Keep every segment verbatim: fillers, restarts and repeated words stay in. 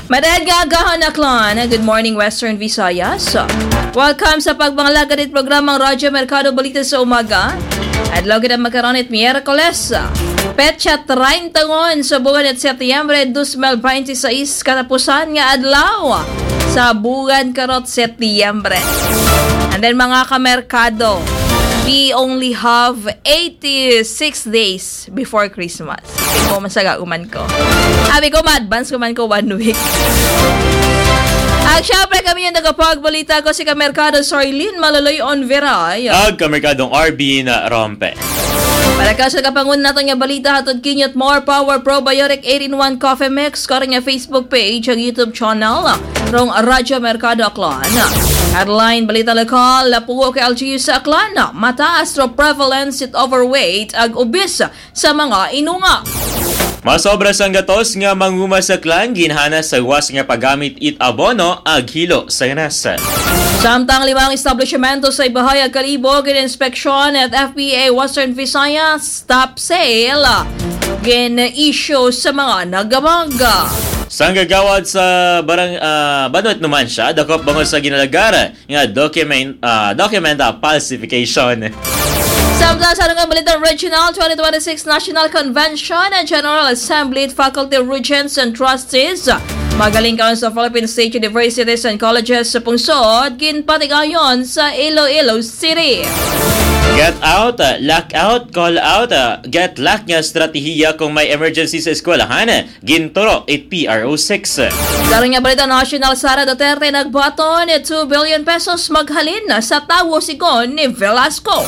Madayad nga agahon, Aklan. Good morning, Western Visayas. Welcome sa pagpangalagad it programang Radyo Merkado Balita sa Umaga. Adlaw kita magkaron it Miyerkules, petsa treinta ngon sa buwan it Setyembre dos mil bente seis, katapusan nga adlaw sa buwan karot Setyembre. And then, mga kamerkado, we only have eighty-six days before Christmas. Ko man sa gauman ko. Abi ko, ma-advance ko man ko one week. At syempre, kami yung nagapagbalita ko, si Kamerkado Soilin Maloloy Onveray. Ag Kamerkadong R B na Rompe. Para ka sa kapangun natin nga balita, hatod kinyot More Power Probiotic eight-in-one Coffee Mix, karon nga Facebook page, ang YouTube channel, rong Radyo Merkado Aklan. Headline, balita lokal, lapugo kay L G U sa Aklan, mataas ro prevalence it overweight ag obese sa mga inunga. Masobra sang gatos nga manguma sa Aklan, ginhana sa gawas nga paggamit it abono ag hilo sa ganas. Samtang limang establishmento sa Ibajay ag Kalibo, gin-inspeksyon at F B A Western Visayas stop sale gin-issue sa mga nagabag. Sang gagawad sa barang, ah, Banwet Numancia, dakop bangod sa ginalagar nga document, ah, document, ah, falsification. Samtang sa nga balita, Regional twenty twenty-six National Convention and General Assembly, Faculty Regents and Trustees, magaling karon sa Philippine State Universities and Colleges sa pungsod, ginpatigayon sa Iloilo City. Get out, ah, lock out, call out, ah, get lock nga estratehiya kung may emergency sa eskwelahan, ginturo it P R O six. Karon nga balita national, Sara Duterte nagbaton two billion pesos maghalin sa tawo, sigon ni Velasco.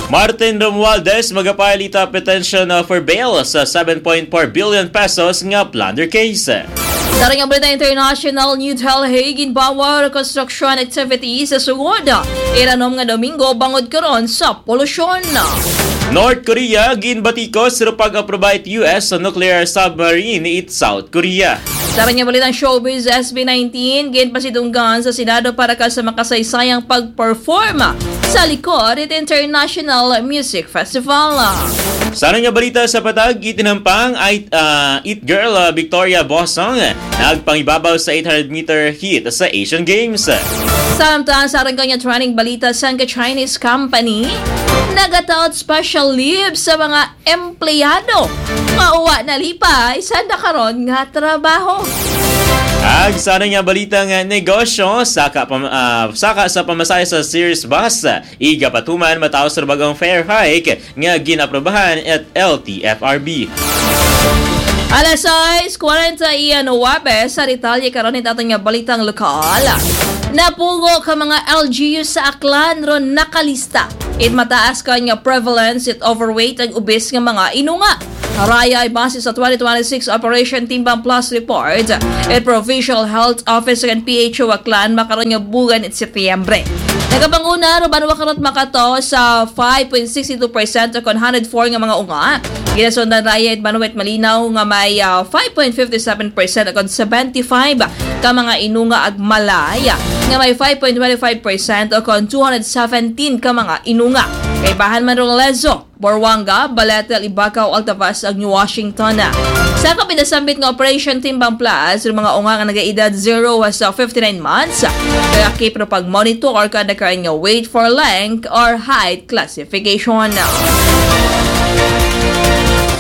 Martin Romualdez magapile it petition, uh, for bail sa seven point four billion pesos nga plunder case. Karon nga balita international, New Delhi, ginbawal construction activities sa sugod iranom nga Domingo bangod karon sa polusyon. North Korea ginbatikos ro pag-aproba it U S sa nuclear submarine it South Korea. Sa kanya balitang showbiz, S B nineteen, ginpasidunggan sa Senado para ka sa makasaysayang pag-perform sa likod it International Music Festival. Sa nga balita sa patag, itinampang ay, ah, it girl, ah, Victoria Bosong, nagpangibabaw sa eight hundred meter heat sa Asian Games. Samtang sa kanya training balita, sang Chinese company nagataot special leave sa mga empleyado nga uwa nalipay sa nakaron nga trabaho. Ag sa nga balita nga negosyo, saka, pam-, ah, saka sa pamasahe sa Ceres Bus, igapatuman mataos ra bag-ong fare hike nga ginaprobahan at L T F R B. Alas sais kwarenta y nuebe sa detalye karon it aton nga balitang lokal. Napugo ka mga L G U sa Aklan ro nakalista it mataas ka nga prevalence it overweight ag obese nga mga inunga. Raya ay base sa twenty twenty-six Operation Timbang Plus report, it Provincial Health Office and P H O Aklan makaron nga buwan it Setyembre. Nagapanguna ro banwa karot makato sa five point six two percent kon hundred four nga mga unga. Ginasundan raya it banwa it Malinaw nga may, ah, five point fifty-seven percent kon seventy-five ka mga inunga ag Malay nga may five point twenty-five percent kon two hundred seventeen ka mga inunga. Kaibahan man rong Lezo, Boruanga, Balete, Libacao, Altavas, ag New Washington. Sa kapinasambit nga Operation Timbang Plus, yung mga unga nga nagaedad zero hasta fifty-nine months, kaya keep na pag-monitor ka na karon nga weight for length or height classification.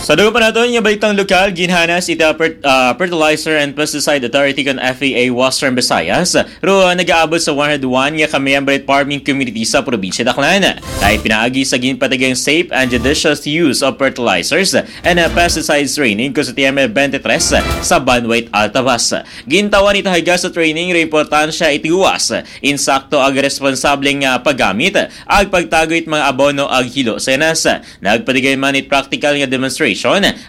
Sa dugang pa naton nga balitang lokal, ginhanas it, ah, Fer-, ah, Fertilizer and Pesticide Authority kon F A A Western Visayas, ro, ah, nagaabot sa one hundred one nga ka-member farming community sa probinsya Aklan. Kay pinaagi sa ginpatigang safe and judicious use of fertilizers and, ah, pesticides training ko sa Setyembre twenty-three sa Banwait Altavas. Gintawan ito higa sa training ro importansya iti gawas, insakto ag responsableng, ah, paggamit ag pagtago it mga abono ag hilo sa ganas. Nagpatigay man it practical nga demonstration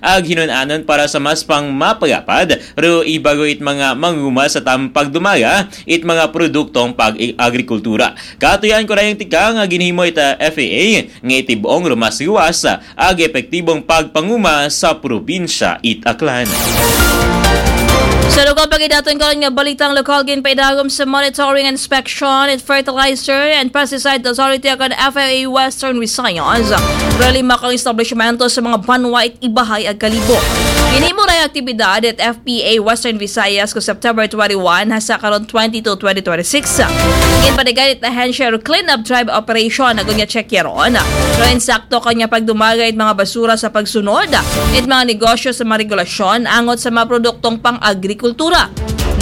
ag hinun-anon para sa mas pang mapagapad ro ibago it mga manguma sa tampagdumaga it mga produktong pag-agrikultura. Katuyan ko na yung tika nga ginhimo ita F A A nga iti buong rumas gawas ag epektibong pagpanguma sa probinsya it Aklan. Sa lokal Pagkadaton karon nga balitang lokal, ginpaidagom sa Monitoring, Inspection and Fertilizer and Pesticide Authority akan F A A Western Visayas, reli makang establishmento sa mga banwa it Ibajay ag Kalibo. Ginhimo na ang aktibidad it F P A Western Visayas ko September twenty-one hasta karon twenty-two, twenty twenty-six. Ginpadagan it ahensya ro clean-up drive operation agon nga check yaron. Pero insakto kanya pagdumaga it mga basura sa pagsunod it mga negosyo sa mga regulasyon angot sa mga produktong pang-agrikultura.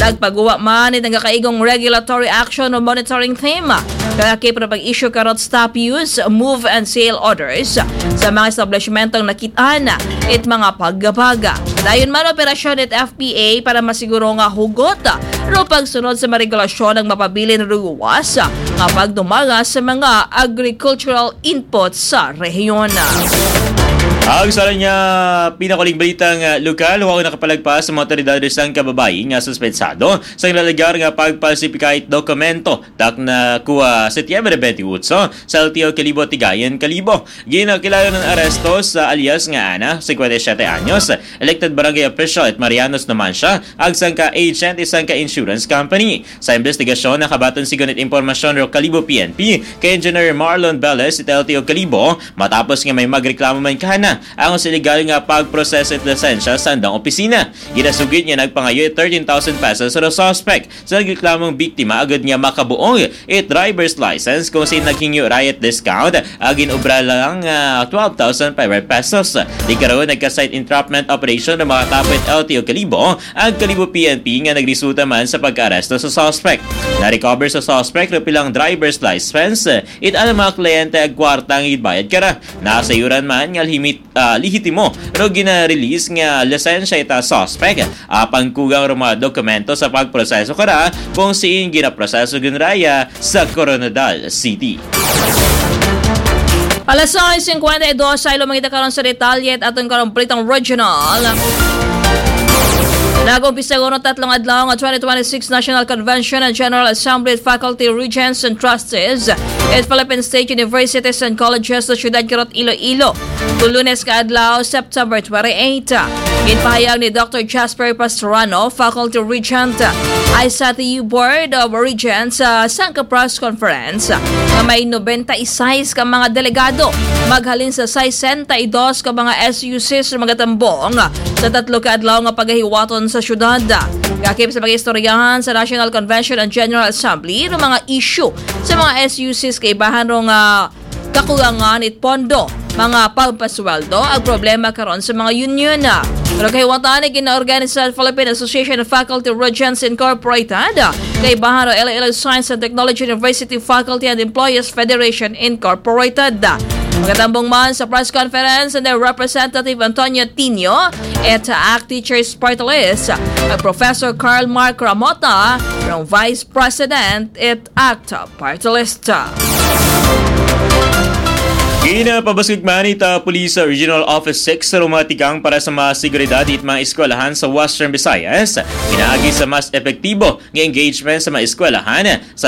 Nagpaguwa man it nagakaigong regulatory action o monitoring team. Kaya kay para pag-issue karot stop use, move and sale orders sa mga establishmentong nakitaan it mga paggabaga. Dayon man operasyon it F P A para masiguro nga hugot ro pagsunod sa mga regulasyon ang mapabilin ro guwas nga pagdumaga sa mga agricultural inputs sa rehiyon. Ang sa niya pinakuling balitang ah, lokal, huwag nakapalagpas sa mga otoridad sa kababayi nga suspetsado sa nilalagar nga pagpalsipika it dokumento tak na kuha Setyembre twenty-eight sa L T O Kalibo, Tigayan, Kalibo. Ginakilala ng aresto sa alias nga Ana, fifty-seven anyos, elected barangay official at Marianos naman siya, ag sangka agent isang ka insurance company. Sa investigasyon, nakabaton sigon it impormasyon ro Kalibo P N P kay Engineer Marlon Velez it L T O Kalibo, matapos nga may magreklamo man kana ang sa illegal nga pagproseso it lisensya sa andang opisina. Ginasugid nga nagpangayo it thirteen thousand pesos sa suspect sa nagreklamong biktima agud nga makabuong it driver's license kung sa naghingyo ra it discount, agin obra lang ah, twelve thousand five hundred pesos. Di karon nagka-site entrapment operation na makatapit L T O Kalibo ang Kalibo P N P nga nagresulta man sa pagkaaresto sa suspect. Na-recover sa suspect ro pilang driver's license, it ang mga kliyente ag kwarta nga gibayad kara. Nasayuran man nga limit ah, lehitimo ro gina-release nga lisensya ita suspect. Apang kugang ro mga dokumento sa pagproseso kara kung siin ginaproseso ginraya sa Koronadal City. Alas sais singkwenta y dos ay lumangita karon sa detalye at atong karon balitang regional. Nag-umpisa kuno tatlong adlaw nga twenty twenty-six National Convention and General Assembly at Faculty Regents and Trustees at Philippine State Universities and Colleges sa siyudad karot Iloilo. Lunes ka adlaw, September twenty-eight. Ginpahayag ni Doctor Jasper Pastrano, Faculty Regent, I S A T U Board of Regents, sa sangka press conference nga may nobenta y sais ka mga delegado maghalin sa sesenta y dos ka mga S U Cs nga magatambong sa tatlo ka adlaw nga pagahiwaton sa syudad. Lakip sa pag-istoryahan sa National Convention and General Assembly ng mga issue sa mga S U Cs kaibahan rong ah, kakulangan it pondo, mga pampasweldo, ag problema karon sa mga union. Pero kahiwatan ni ginaorganisa sa Philippine Association of Faculty Regents Incorporated, kaibahan ro Iloilo Science and Technology University Faculty and Employees Federation Incorporated. Magatambong man sa press conference and the Representative Antonio Tino, it ACT Teachers Party List, ag Professor Carl Mark Ramota, rong Vice President, it ACT Party List. Ginapabasig man ita Police Regional Office six sa mga tikang para sa mga seguridad it mga eskwelahan sa Western Visayas. Pinaagi sa mas epektibo nga engagement sa mga eskwelahan sa